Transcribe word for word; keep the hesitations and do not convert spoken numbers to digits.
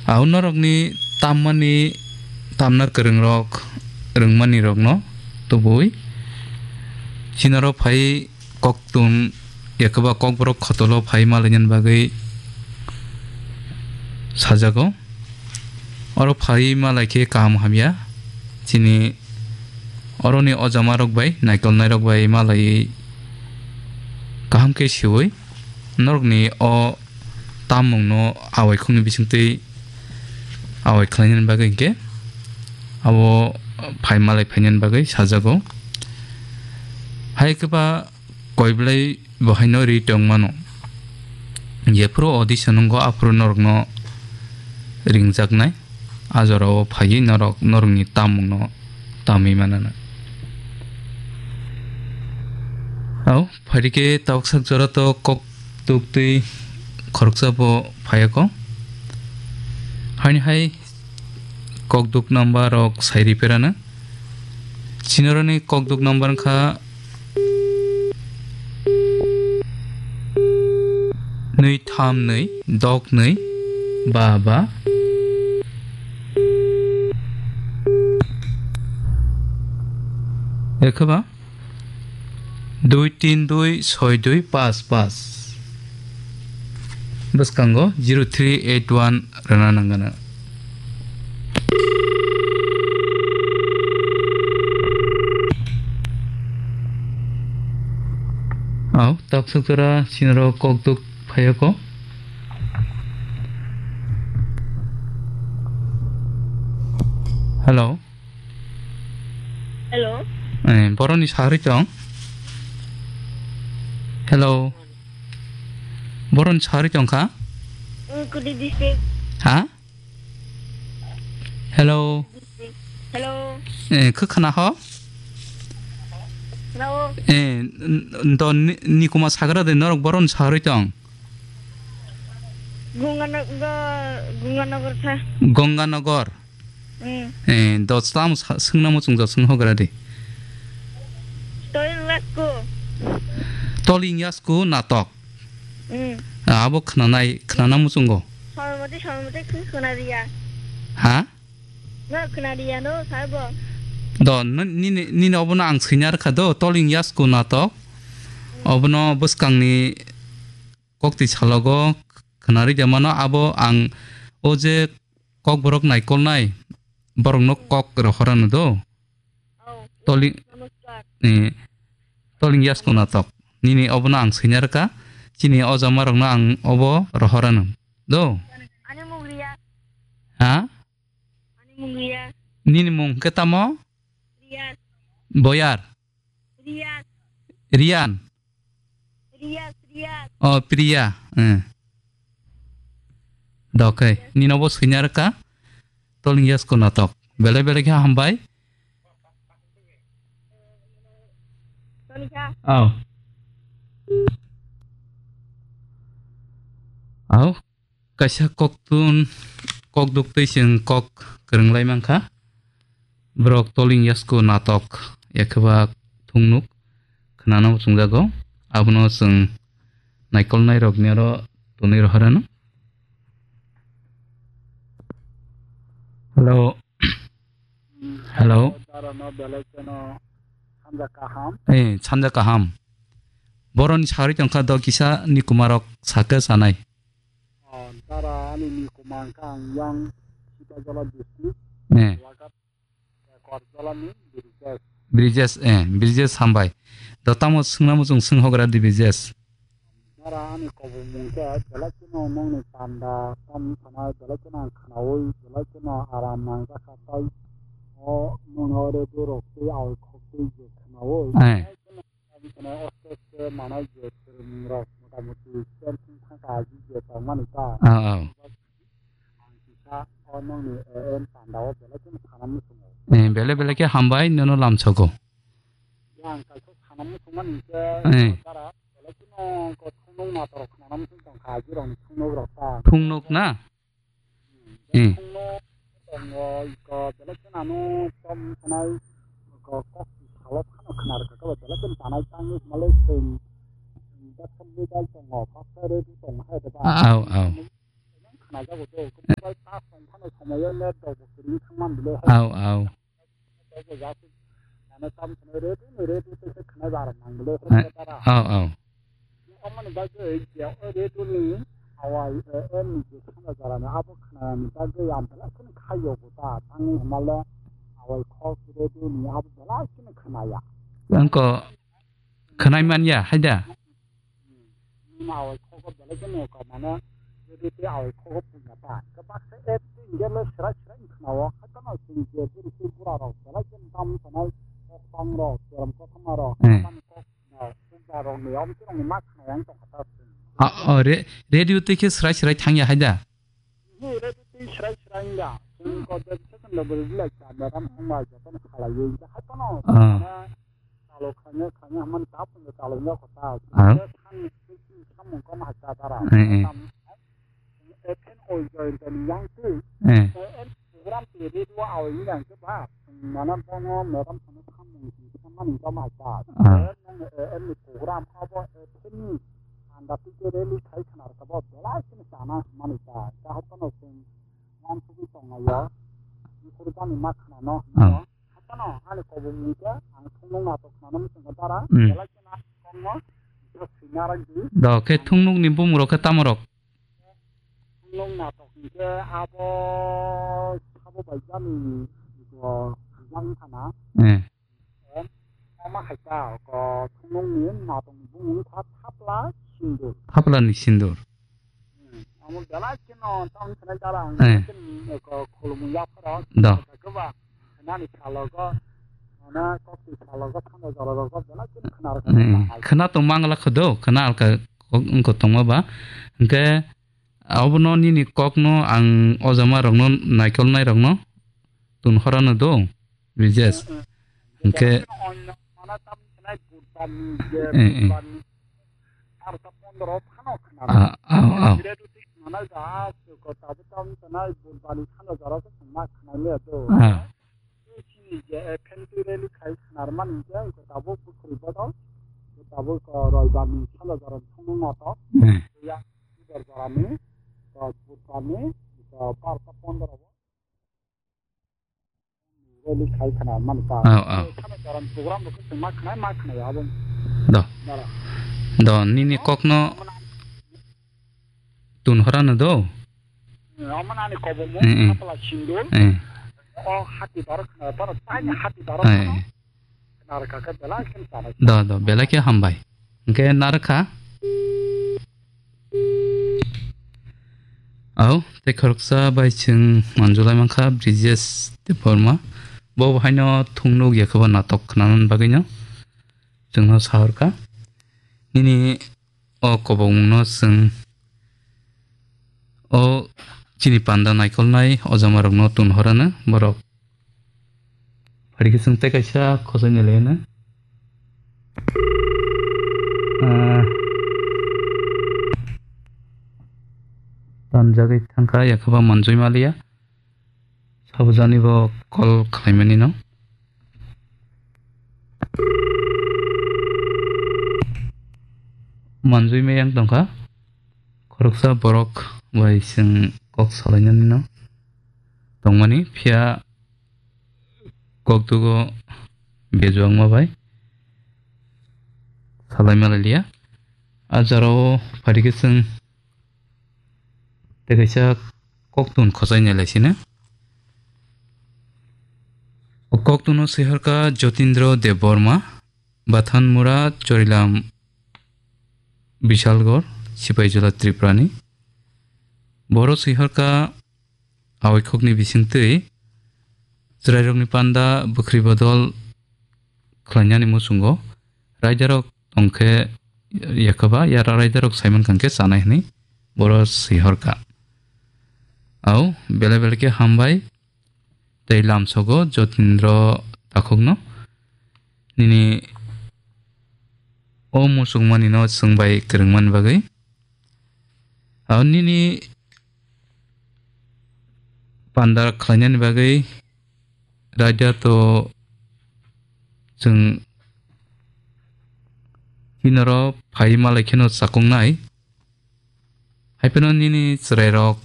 Au norokni tammani, tamna kwrwngrok, rwngmanirokno tubui. Chinaro phai koktun, yakaba kokborok khotolo phai malainani bagwi sajago. Oro phai malai khe kaham hamya. Chini oroni ojamarok bai, naikolnairok bai malaiwi kaham khe siwi norokni o tammungno awaikhokni bisingtwi awai khlainani bagwi hinkhe abo phai malai phainani bagwi sajago. Hai khe ba koi belai bo haino ri tong mano. Jephuru audition wngo aphuru norokno ringjaknai. A jorao phaiwi norok, norokni tammungno tamwi manana. Au, phaidi khe tabuk sak jora to kok tuk twi khoroksa bo phaiya kho. Haini hai kokduk number rok sai riperana. Chinoroni kokduk number wngkha nwi tham nwi dok nwi ba ba. Ekhe ba? Dui tin dui soi dui pas pas. Bwskango zero three eight one rwna nangano. Au, taksuk jora sinro kokduk phayoko. Hello. Hello. Eh, boroni sahari tong. Hello. Boroni sahari tong kha? Mm, Kudi district. Ha? Hello. Hello. Eh, khe khna ho? Hello. Eh, n-, n-, do ni, ni kuma sagra de norok boroni sahari tong. Gunganagar, Gunganagar kha. Gonganagar. Mm. Eh, do tamo sa-, swngna muchung do swng hogra di. Toilet ko. Toling yasku natok. Mm. Ah, abo khnanai, khnana muchungo. Sormati, sormati khn-, khna riya. Ha? No khna riya no, sabo. Do, n-, nini, nini obono ang swinya rwkha do, toling yasku natok. Mm. Obono bwskangni kokti salogo khna rwya mano, abo ang o je kokborok naikolnai, borokno kok rohorano do. Oh, toling, namaskar. Eh, toling yasku natok. Nini obono ang swinya rwkha. Chini o jamarokno ang obo rohorano do. Ani mung Riya. Ha? Ani mung Riya. Nini mung khe tamo? Riya. Boyar. Riya. Riyan. Priya, Priya. Oh, Priya. Eh. Dokai. Nino bo swinya rwkha. Toling yasku natok. Belai belai khe hambai. Tolikha. Au. Au. Kaisa koktun, kok duktwi chwng kok kwrwng lai mankha. Borok toling yasku natok, ekheba thungnuk khnana muchungjago. Abono chwng naikolnairokni aro tonwi rohorano. Hello. Hello. Darano belai kheno sanja kaham. Eh, sanja kaham. Boroni sagri tongkha do kisa ni kumarok sake sanai. Oh, dara ani ni kuma wngkha ang yang Sipajala district, eh. Lagat, eh, Korjala ni Brijesh. Brijesh, eh, Brijesh hambai. Do tamo swngna muchung swng hogra di Brijesh. Dara ani kobor mung khe belai kheno nongni panda tam sanai belai kheno ang khnaui belai kheno aram nangjakha tai. O nongni o radio rok tei awai khok tei je khnaui. Eh. Belai kheno Oste oste manai je kwrwng rok mota moti stand thung thang ka agi je tong mani ta. Ah, ah. Ang kisa o nongni A M panda o belai kheno sana muchungo. Eh, belai belai khe hambai nono lamsogo. Yang kaisa sana muchung mani khe eh. Dara belai kheno ko thungnung nator khana muchung tong ka agi rok ni thungnung rok ta. Thungnung na? Hmm. Thungno tongo, iko belai kheno ano tom sanai, iko kok salo phano khna rwkha khe belai kheno tanai tangwi malai chwng, chwng bwskango dal tongo, pastor ready tongo hai da ba. Au, au. khnajago do. Mobile charge tong phano somoyo net rok bo kwrwi thangman bile. Au, au. Tei bo jasuk mane tam khwnai ready ni ready tei se khwnai bar mang bile. Eh, khwnai bara. Au, au. Omoni bagwi je o ready ni awai, eh, em ni je khwnai jora ni abo khwnai ni bagwi ang belai kheno khayo bo ta tangwi hwnmale awai khok ready ni abo belai kheno khwnaya. Ang ko khwnai manya hai da? Hmm. Nini awai khogo belai kheno ko mane, jadi te awai khogo punya ta. Ke baksa et tin gelo serai serai khnawo, hakano sing je buri sing pura rok belai kheno tam sanai kok bang rok, keram kothoma rok, eh, tam kok na, pugda rok ni, om tirong ni ma khna yang tong kata sing. Ah, oh, re-, radio te khe serai serai thangya hai da? Ni radio te serai serai ya. Sing ko de se kan da buri bilai ta, meram hongma joto khala ye, hakano. Ah. Mane, Chalo khanya khanya man tap nge chalo nya kota. Ah. Khe khan khe samung kam ha cha dara. Eh, eh. Tam, eh, phen oi join ten yang tu. Eh. Eh, en program te re dua au yang ke ba. Mana bongo meram sana samung si samani kam ha cha. Ah. Eh, nang, eh, en program abo, eh, phen ni anda tu ke rally khai khana ka ba belai sini sana mani cha. Ka ha kono sing wan tu tong ya. Ni program ni ma khana no. Ah. Hakano ani kobomung khe ang thungnung natok khnana muchungkha dara, hmm, belai kheno kokno swina rwdi. Do khe thungnukni bumung rok khe tamo rok? Thungnung natok hinkhe abo sabo bai jani ko jang thana. Eh. Em, ama hai ta ko thungnungni natokni bumung kha thapla sindur. Thaplani sindur. Hmm, amo belai kheno tamo khwnai dara ang, eh, khulumung yapharo. Do. Khe ba, nani salogo, ana kokti salogo, thangwi jororogo belai kheno khna rwkha. Hmm, khna tong mangla kho do, khna alka kok wngkha tongma ba. Hwnkhe abono nini kokno ang o jama rokno naikolnai rokno tun horano do, Brijesh. Hmm, hmm. Hwnkhe belai kheno onno mana tam khwnai budbani je, eh, eh, budbani. Arta pondro phano khna. Ah, ah, ah. Bire duti khna ja, ko tabu tam tanai budbani khana jara ko khna khna le do. Ah. Chini je, eh, phentu rally khai khna man je ko tabu bukhri bodol. Ko tabu ko roibani khana jara phano nato. Hmm. Ya, ibar jara ni, ko budbani, ko arta pondro. Rally khai khna man ta. Oh, oh. Khana jaran program rok khna ma khna ma khna ya bo. Do. Dara. Do, nini kokno tun horano do. Amana ani kobomo, mm, mm, kapla sindul. Eh. O hati daro khna, daro tani hati daro khna. Eh. Khna rwkha khe belai khe chana. Do, do, belai khe hambai. Hwnkhe narwkha. Au, tei khoroksa bai chwng manjulai mankha Brijesh Debbarma. Bo bo haino thungnuk ya khe bo natok khnanan bagwino chwngno sahorkha. Nini o kobokmungno chwng o chini panda naikolnai o jamarokno tun horano borok. Phaidi khe chwng tei kaisa khosai ni laino. Ah, tanjagwi thangkha, yakhaba manjui maliya. Sabujani bo call khlaimani no. Manjui meyang tongkha. Khoroksa borok bai chwng kok salainani no tongmani, phiya koktugo bejuangma bai salai malai liya. A jora o phaidi khe chwng tei kaisa koktun khosai nai lai sino. O koktun no swi horkha Jotindra Debbarma, Bathanmura, Chorilam, Bishalgarh, Sipaijala, Tripura ni. Boro swi horkha Awikhokni bisingtwi chwrairokni panda bwkhri bodol khlainani muchungo raidarok tongkhe yakhaba, yara raidarok saimankha hwnkhe chanai hwnwi boro swi horkha. Au, belai belai khe hambai tei lamsogo Jotindra takhukno nini o muchungmanino chwngbai kwrwngmani bagwi. Abo nini panda khlainani bagwi raida to chwng chinoro phai malai kheno chakoknai. Haiphano nini chwrairok